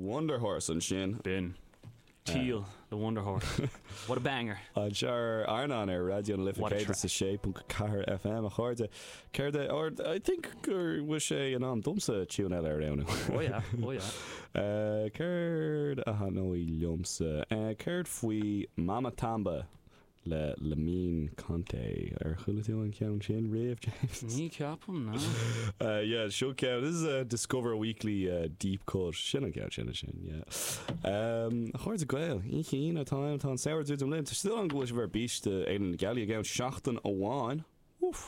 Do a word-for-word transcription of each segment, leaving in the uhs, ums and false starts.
Wonder Horse ansin. B'in. Teal, the Wonder Horse. What a banger. Anseo ar Airneán ar Raidió na Life What a céad is a sé ponc ceathair FM a chairde. Céard é or I think gur bhfuil sé in am domsa tune eile a roghnú. Oh yeah, oh yeah. Uh, Céard a thaitneoidh liomsa. Uh, Céard faoi Mama Tamba le Lamine Conté ar chuala tú an ceann sin riamh James? Ní ceapaim ná. Uh, yeah, seo ceann. This is a Discover Weekly uh, deep cut. Sin an ceann sin sin, yeah. Um, chairde Gael, Oíche Aoine atá tá an samhradh druidim linn. Tá súil agam go bhfuil sibh ar bís do Fhéile na Gealaí i gceann seachtain amháin. Uf.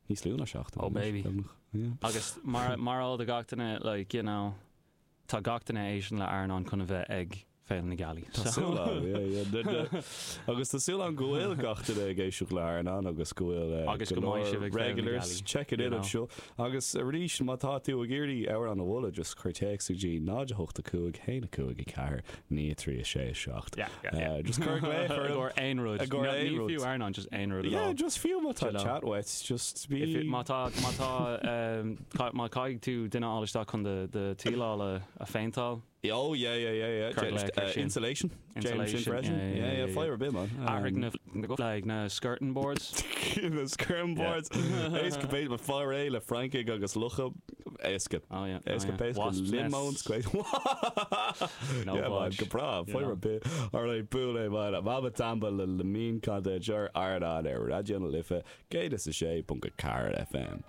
Níos lú ná seachtain. Oh, baby. Yeah. Agus mar mar all de gach duine like you know tá gach duine ag éisteacht le Airneán chun a bheith ag Féile na Gealaí. Tá súil agam, yeah, yeah. Na- na- Agus tá súil agam go bhfuil gach duine ag éisteacht le Airneán agus go bhfuil uh, Agus go mbeidh sibh ag Féile na regulars Gealaí, check it you in know. anseo. Agus arís má tá tú ag iarraidh amhrán a mholadh just cuir téacs go dtí náid a hocht a cúig haon a cúig a ceathair naoi trí a sé a seacht. Yeah, yeah, yeah. Uh, just cuir glaoch I orm. gcomhair aon rud. I gcomhair No, aon ní rud. fiú Airneán just aon rud at Yeah, all. just fiú má tá You know. chat uait, just be If it, má tá má tá um, ca- má caithfidh tú duine a fháil isteach chun de de tíleáil a a phéinteáil Oh yeah, yeah, yeah, yeah. Cuir Just, glaoch ar uh, sin. insulation. James sin Insulation, freisin. yeah, yeah, Yeah, yeah, yeah, fire a bit man. athraigh Um, na like na skirting boards. na skirting boards. Éasca bait le fire é le francaigh agus lucha éasca. Oh yeah. oh, Éasca yeah. péasca Wasp limóns nests. great. No yeah, man, budge. go breá, You fire know. a bit. All right, buail é man. Mama Tamba le Lamine Conté ar Airneán ar Raidió na Life, céad is a sé ponc a ceathair FM.